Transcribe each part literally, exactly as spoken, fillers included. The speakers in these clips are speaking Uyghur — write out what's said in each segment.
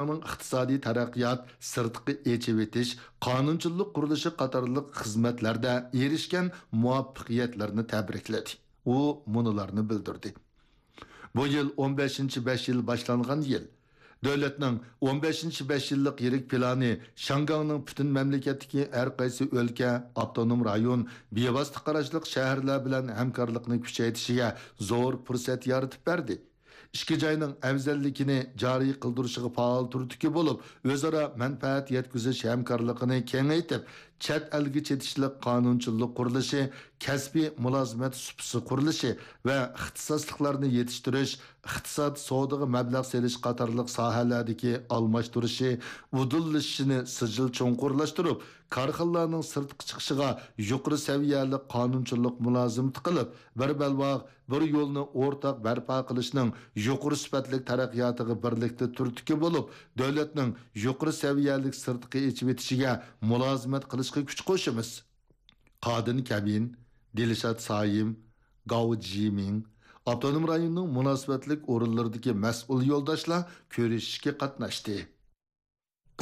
ئىقتىسادىي تەرەققىيات، سىرتقى ئېچىۋېتىش، قانۇنچىلىق قۇرۇلۇشى قاتارلىق خىزمەتلەردە ئېرىشكەن مۇۋەپپەقىيەتلەرنى تەبرىكلىدى. ئۇ مۇنۇلارنى بىلدۈردى. بۇ يىل ئون بەشىنچى بەش يىل باشلانغان يىل. دۆلەتنىڭ ئون بەشىنچى بەش يىللىق يىرىك پىلانى شياڭگاڭنىڭ پۈتۈن مەملىكەتتىكى ھەر قايسى ئۆلكە، ئاپتونوم رايون، بىۋاسىتە قاراشلىق شەھەرلەر بىلەن ھەمكارلىقنى كۈچەيتىشىگە زور پۇرسەت يارىتىپ بەردى. ئىككى جاينىڭ ئەۋزەللىكىنى جارى قىلدۇرۇشىغا پائال تۈردىكى بولۇپ، ئۆزئارا مەنپەئەت يەتكۈزۈش ھەمكارلىقىنى كېڭەيتىپ، چەت ئەلگە چېتىشلىق قانۇنچىلىق قۇرۇلۇشى، كەسپىي مۇلازىمەت سۇپىسى قۇرۇلۇشى ۋە ئىختىساسلىقلارنى يېتىشتۈرۈش، ئىقتىساد، سودىغا مەبلەغ سېلىش قاتارلىق ساھەلەردىكى ئالماشتۇرۇشى، ئۇدۇللىشىشىنى سىجىل چوڭقۇرلاشتۇرۇپ، كارخانىلارنىڭ سىرتقا چىقىشىغا يۇقىرى سەۋىيەلىك قانۇنچىلىق مۇلازىمىتى قىلىپ، بىر بەلباغ، بىر يولنى ئورتاق بەرپا قىلىشنىڭ يۇقىرى سۈپەتلىك تەرەققىياتىغا بىرلىكتە تۈرتكە بولۇپ، دۆلەتنىڭ يۇقىرى سەۋىيەلىك سىرتقا ئېچىۋېتىشىگە مۇلازىمەت قىلىشقا كۈچ قوشىمىز. قادىن كەبىن، دىلشات سايىم، گاۋ جىمىڭ، ئاپتونوم رايوننىڭ مۇناسىۋەتلىك ئورۇنلىرىدىكى مەسئۇل يولداشلار كۆرۈشۈشكە قاتناشتى.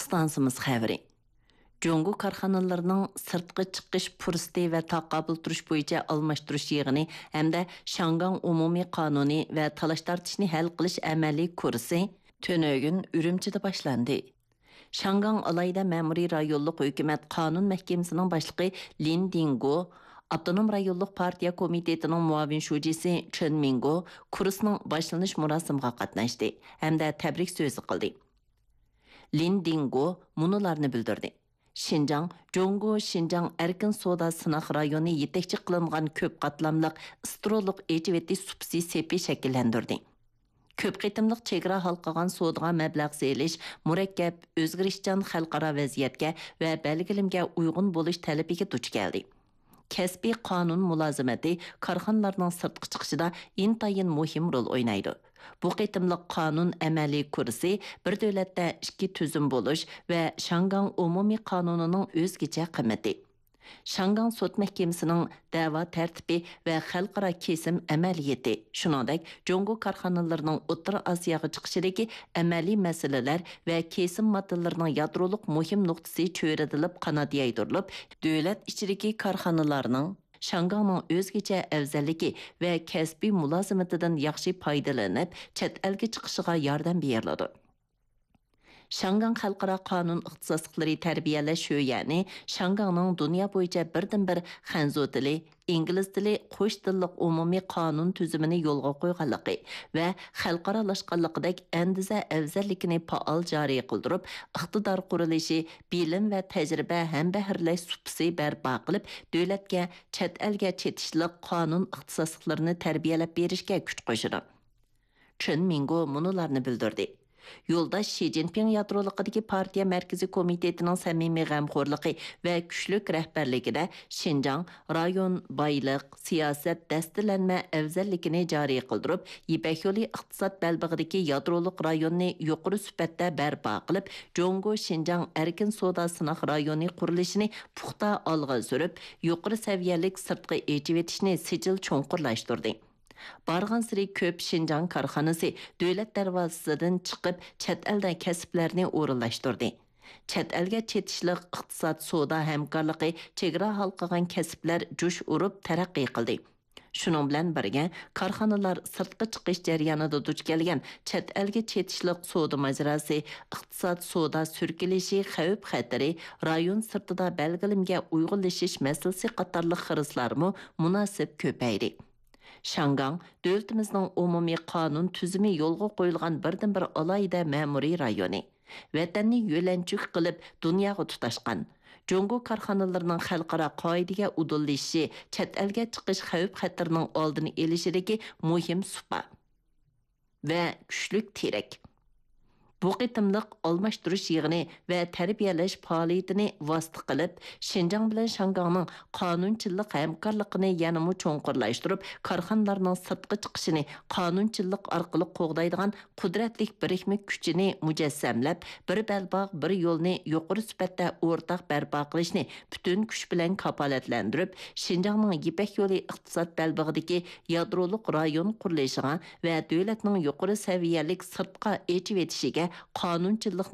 ئىستانسىمىز خەۋىرى. جۇڭگو كارخانىلىرىنىڭ سىرتقا چىقىش پۇرسىتى ۋە تاقابىل تۇرۇش بويىچە ئالماشتۇرۇش يىغىنى ھەمدە شياڭگاڭ ئومۇمىي قانۇنى ۋە تالاش-تارتىشنى ھەل قىلىش ئەمەلىي كۇرسى تۈنۈگۈن ئۈرۈمچىدە باشلاندى. شياڭگاڭ ئالاھىدە مەمۇرىي رايونلۇق ھۆكۈمەت قانۇن مەھكىمىسىنىڭ باشلىقى لىن دىڭگو، ئاپتونوم رايونلۇق پارتىيە كومىتېتىنىڭ مۇئاۋىن شۇجىسى چېن مىڭگو كۇرسنىڭ باشلىنىش مۇراسىمىغا قاتناشتى ھەمدە تەبرىك سۆزى قىلدى. لىن دىڭگو مۇنۇلارنى بىلدۈردى: شىنجاڭ، جۇڭگو شىنجاڭ ئەركىن سودا سىناق رايونى يېتەكچى قىلىنغان كۆپ قاتلاملىق ئىسترولۇق ئېچىۋېتىش سۇپىسى سېپى شەكىللەندۈردى. كۆپ قېتىملىق چېگرا ھالقىغان سودىغا مەبلەغ سېلىش مۇرەككەپ، ئۆزگىرىشچان خەلقئارا ۋەزىيەتكە ۋە بەلگىلىمىگە ئۇيغۇن بولۇش تەلىپىگە دۇچ كەلدى. كەسپىي قانۇن مۇلازىمىتى كارخانىلارنىڭ سىرتقا چىقىشىدا ئىنتايىن مۇھىم رول ئوينايدۇ. بۇ قېتىملىق قانۇن ئەمەلىي كۇرسى بىر دۆلەتتە ئىككى تۈزۈم بولۇش ۋە شياڭگاڭ ئومۇمىي قانۇنىنىڭ ئۆزگىچە قىممىتى. شياڭگاڭ سوت مەھكىمىسىنىڭ دەۋا تەرتىپى ۋە خەلقئارا كېسىم ئەمەلىيىتى، شۇنىڭدەك جۇڭگو كارخانىلىرىنىڭ ئوتتۇرا ئاسىياغا چىقىشىدىكى ئەمەلىي مەسىلىلەر ۋە كېسىم ماددىلىرىنىڭ يادرولۇق مۇھىم نۇقتىسى چۆرىدىلىپ قانات يايدۇرۇلۇپ، دۆلەت ئىچىدىكى كارخانىلارنىڭ شياڭگاڭنىڭ ئۆزگىچە ئەۋزەللىكى ۋە كەسپىي مۇلازىمىتىدىن ياخشى پايدىلىنىپ، چەت ئەلگە چىقىشىغا ياردەم بېرىلىدۇ. شياڭگاڭ خەلقئارا قانۇن ئىختىساسلىقلىرى تەربىيەلەش شۆيەنى شياڭگاڭنىڭ دۇنيا بويىچە بىردىنبىر خەنزۇ تىلى، ئىنگلىز تىلى قوش تىللىق ئومۇمىي قانۇن تۈزۈمىنى يولغا قويغانلىقى ۋە خەلقئارالاشقانلىقىدەك ئەندىزە ئەۋزەللىكىنى پائال جارى قىلدۇرۇپ، ئىقتىدار قۇرۇلۇشى، بىلىم ۋە تەجرىبە ھەمبەھىرلەش سۇپىسى بەرپا قىلىپ، دۆلەتكە چەت ئەلگە چېتىشلىق قانۇن ئىختىساسلىقلىرىنى تەربىيەلەپ بېرىشكە كۈچ قوشىدۇ. چېن مىڭگو مۇنۇلارنى بىلدۈردى: يولداش شى جىنپىڭ يادرولۇقىدىكى پارتىيە مەركىزىي كومىتېتىنىڭ سەمىمىي غەمخورلۇقى ۋە كۈچلۈك رەھبەرلىكىدە شىنجاڭ رايون بايلىق، سىياسەت دەستىلەنمە ئەۋزەللىكىنى جارى قىلدۇرۇپ، يىپەك يولى ئىقتىساد بەلبېغىدىكى يادرولۇق رايوننى يۇقىرى سۈپەتتە بەرپا قىلىپ، جۇڭگو شىنجاڭ ئەركىن سودا سىناق رايونى قۇرۇلۇشىنى پۇختا ئالغا سۈرۈپ، يۇقىرى سەۋىيەلىك سىرتقا ئېچىۋېتىشنى سىجىل چوڭقۇرلاشتۇردى. بارغانسېرى كۆپ شىنجاڭ كارخانىسى دۆلەت دەرۋازىسىدىن چىقىپ، چەت ئەلدە كەسىپلەرنى ئورۇنلاشتۇردى. چەت ئەلگە چېتىشلىق ئىقتىساد، سودا ھەمكارلىقى چېگرا ھالقىغان كەسىپلەر جۇش ئۇرۇپ تەرەققىي قىلدى. شۇنىڭ بىلەن بىرگە، كارخانىلار سىرتقا چىقىش جەريانىدا دۇچ كەلگەن چەت ئەلگە چېتىشلىق سودا ماجىراسى، ئىقتىساد، سودا سۈركىلىشى خەۋپ-خەتىرى، رايون سىرتىدا بەلگىلىمىگە ئۇيغۇنلىشىش مەسىلىسى قاتارلىق خىرىسلارمۇ مۇناسىپ كۆپەيدى. شياڭگاڭ دۆلىتىمىزنىڭ ئومۇمىي قانۇن تۈزۈمى يولغا قويۇلغان بىردىنبىر ئالاھىدە مەمۇرىي رايونى. ۋەتەننى يۆلەنچۈك قىلىپ دۇنياغا تۇتاشقان، جۇڭگو كارخانىلىرىنىڭ خەلقئارا قائىدىگە ئۇدۇللىشىشى چەت ئەلگە چىقىش خەۋپ-خەتىرىنىڭ ئالدىنى ئېلىشىدىكى مۇھىم سۇپا ۋە كۈچلۈك تىرەك. بۇ قېتىملىق ئالماشتۇرۇش يىغىنى ۋە تەربىيەلەش پائالىيىتىنى ۋاسىتە قىلىپ، شىنجاڭ بىلەن شياڭگاڭنىڭ قانۇنچىلىق ھەمكارلىقىنى يەنىمۇ چوڭقۇرلاشتۇرۇپ، كارخانىلارنىڭ سىرتقا چىقىشىنى قانۇنچىلىق ئارقىلىق قوغدايدىغان قۇدرەتلىك بىرىكمە كۈچىنى مۇجەسسەملەپ، بىر بەلباغ، بىر يولنى يۇقىرى سۈپەتتە ئورتاق بەرپا قىلىشنى پۈتۈن كۈچ بىلەن كاپالەتلەندۈرۈپ، شىنجاڭنىڭ يىپەك يولى ئىقتىساد بەلبېغىدىكى يادرولۇق رايون قۇرۇلۇشىغا ۋە دۆلەتنىڭ يۇقىرى سەۋىيەلىك سىرتقا ئېچىۋېتىشىگە قانۇنچىلىق